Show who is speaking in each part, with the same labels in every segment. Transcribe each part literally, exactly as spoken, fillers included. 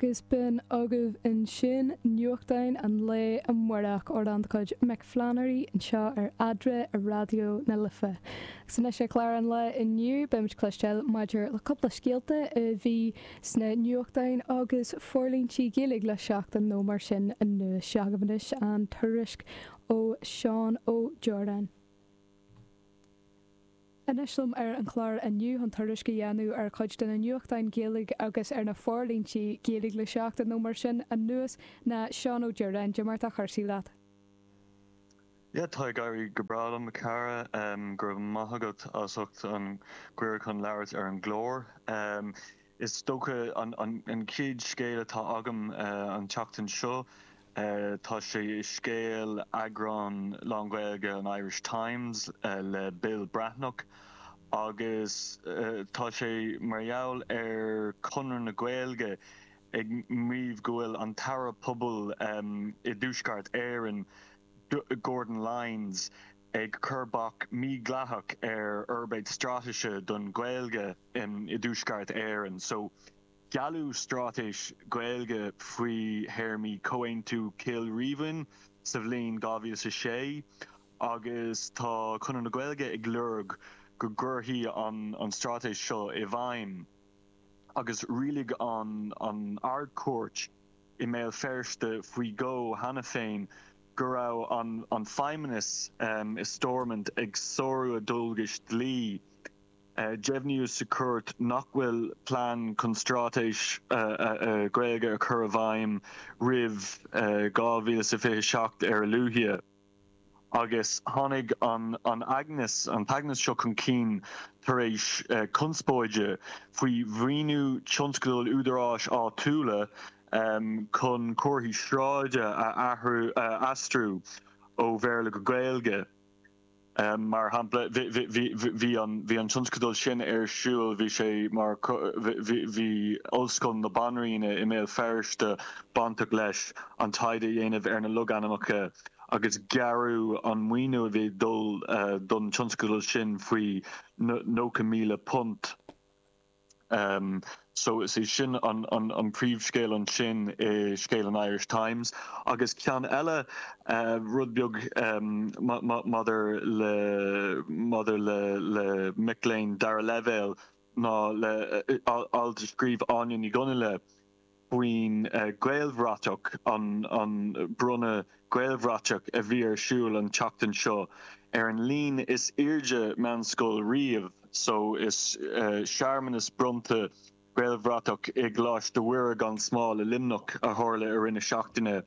Speaker 1: Agus b'in agaibh ansin nuachtáin an lae amárach amhrán de chuid Mick Flannery anseo ar Eadra ar Raidió na Life. Agus anois ar chlár an lae inniu beimid ag cloisteáil maidir le cúpla scéalta a bhí sna nuachtáin agus forlíontaí Gaeilge le seachtain nó mar sin anuas. Seo agaibh anois an tuairisc ó Seán Ó Direáin. Anois liom ar an chlár inniu chun tuairisc a dhéanamh ar chuid de na nuachtáin Gaeilge agus ar na forlíontaí Gaeilge le seachtain nó mar sin anuas ná Seán Ó Direáin. Cad é mar atá cúrsaí leat.
Speaker 2: Ja tá ag éirí go breá liom a chara um, go raibh maith agat as ucht an cuireadh chun labhairt ar an gclár. Um, is dócha an, an, an chéad scéal atá agam uh, an tseachtain seo Uh, tá sé i scéal eagrán lán-Ghaeilge an Irish Times uh, le Bill Breathnach agus uh, tá sé mar gheall ar Chonradh na Gaeilge ag maíomh go bhfuil an tAire Pobal um, i dTuaisceart Éireann Gordon Lyons ag cur bac mídhleathach ar fhorbairt straitéise don Ghaeilge um, i dTuaisceart Éireann. So gealladh straitéis Gaeilge faoi théarmaí Chomhaontú Chill Rímhinn sa bhliain dhá mhíle a sé agus tá Conradh na Gaeilge ag lorg go gcuirfí an an straitéis seo i bhfeidhm agus rialaigh an an Ard-Chúirt i mBéal Feirste faoi dhó cheana féin go raibh an an feidhmeannas um, i Stormont ag sárú a ndualgais dlí. Uh, Deimhníodh sa chúirt nach bhfuil plean chun straitéis uh, uh, uh, Gaeilge a chur i bhfeidhm roimh uh, dhá mhíle sa fiche seacht ar a luaithe. Agus tháinig an an aighneas an t-aighneas seo chun cinn tar éis uh, conspóide faoi mhaoiniú tionscadal údaráis áitiúla um, chun comharthaí sráide a athrú uh, aistriú ó Bhéarla go Gaeilge. Um, mar shampla bhí an bhí an tionscadal sin ar siúl bhí sé mar bhí Ollscoil na Banríona i mBéal Feirste bainteach leis an taighde a dhéanamh ar na logainmneacha agus gearradh an maoiniú a bhí dul uh, don tionscadal sin faoi nócha míle punt. Um, so is é sin an, an, an príomhscéal ansin i scéal an Irish Times agus ceann eile uh, rud beag um, maidir le maidir le le mic léinn dara leibhéal ná le uh, alt a scríobh Áine Ní Chonghaile faoin uh, Gaelbhratach an an bronnadh Gaelbhratach a bhí ar siúl an tseachtain seo ar an líon is airde meánscoil riamh so is uh, searmanas bronnta Gaelbhratach i gColáiste Mhuire gan Smál i Luimneach a tharla i rith na seachtaine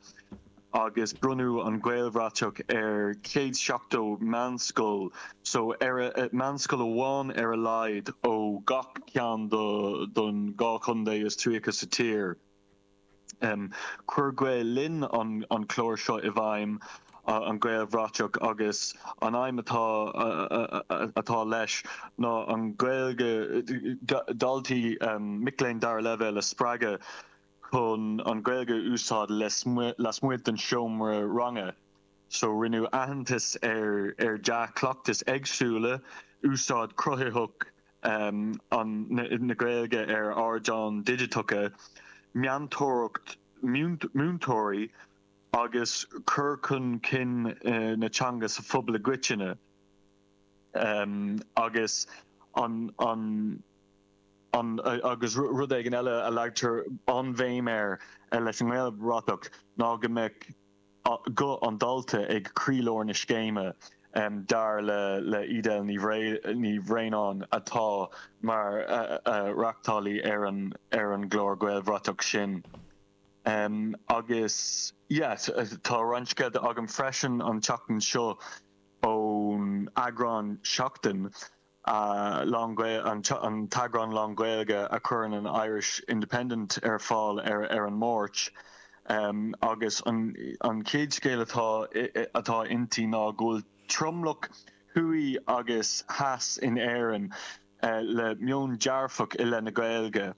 Speaker 2: agus bronnadh an Gaelbhratach ar céad seachtó meánscoil so ar meánscoil amháin ar a laghad ó gach ceann don dhá chontae is tríocha sa tír. Um, Chuir Gael Linn an, an clár seo i bhfeidhm an Gaelbhratach agus an aidhm atá atá leis ná an Gaeilge daltaí um, mic léinn dara leibhéal a spreagadh chun an Gaeilge úsáid lasmuigh den seomra ranga. So rinneadh aitheantas ar ar dea-chleachtais éagsúla úsáid cruthaitheach um, an na, na Gaeilge ar ardáin digiteacha, meantóireacht múinteoirí agus cur chun cinn uh, na teanga sa phobal i gcoitinne um, agus an an an agus rud éigin eile a leagtar an-bhéim air leis an nGaelbhratach ná go mbeadh guth an dalta ag croílár na scéime um, dar le le Edel Ní Bhraonáin atá mar uh, uh, reachtálaí ar an ar an gclár Gaelbhratach sin. Um, agus yes, tá roinnt scéalta agam freisin an tseachtain seo ón eagrán Seachtain uh, an, an t-eagrán lán-Ghaeilge a chuireann an Irish Independent ar fáil ar, ar an Máirt. Um, agus an, an chéad scéal atá atá inti ná go bhfuil tromlach thuaidh agus theas in Éirinn uh, le meon dearfach i leith na Gaeilge.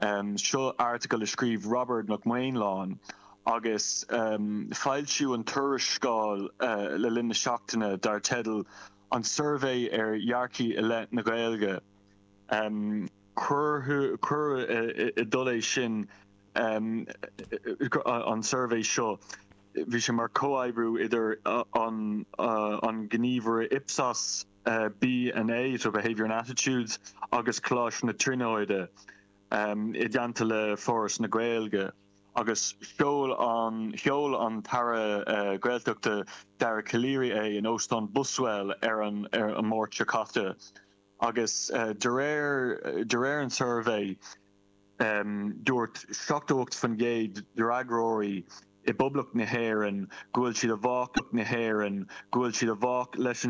Speaker 2: Um, seo article a scríobh Robert Mac Maonláin agus um, foilsíodh an tuarascáil uh, le linn na seachtaine dar teideal an suirbhé ar dhearcthaí i leith na Gaeilge. Um, Cuireadh i dtoll é sin um, an suirbhé seo bhí sé mar comhoibriú idir an uh, an gníomhaire Ipsos uh, B and A so Behavior and Attitudes agus Coláiste na Tríonóide um, i dteannta le Foras na Gaeilge. agus sheol an sheol an tAire uh, Gaeltachta Dara Calleary é in Óstán Buswell ar an ar an Máirt seo caite agus uh, de réir de réir an suirbhé um, dúirt seachtó ocht faoin gcéad d'fhreagróirí i bPoblacht na hÉireann go bhfuil siad i bhfách na hÉireann go bhfuil siad i bhfách leis an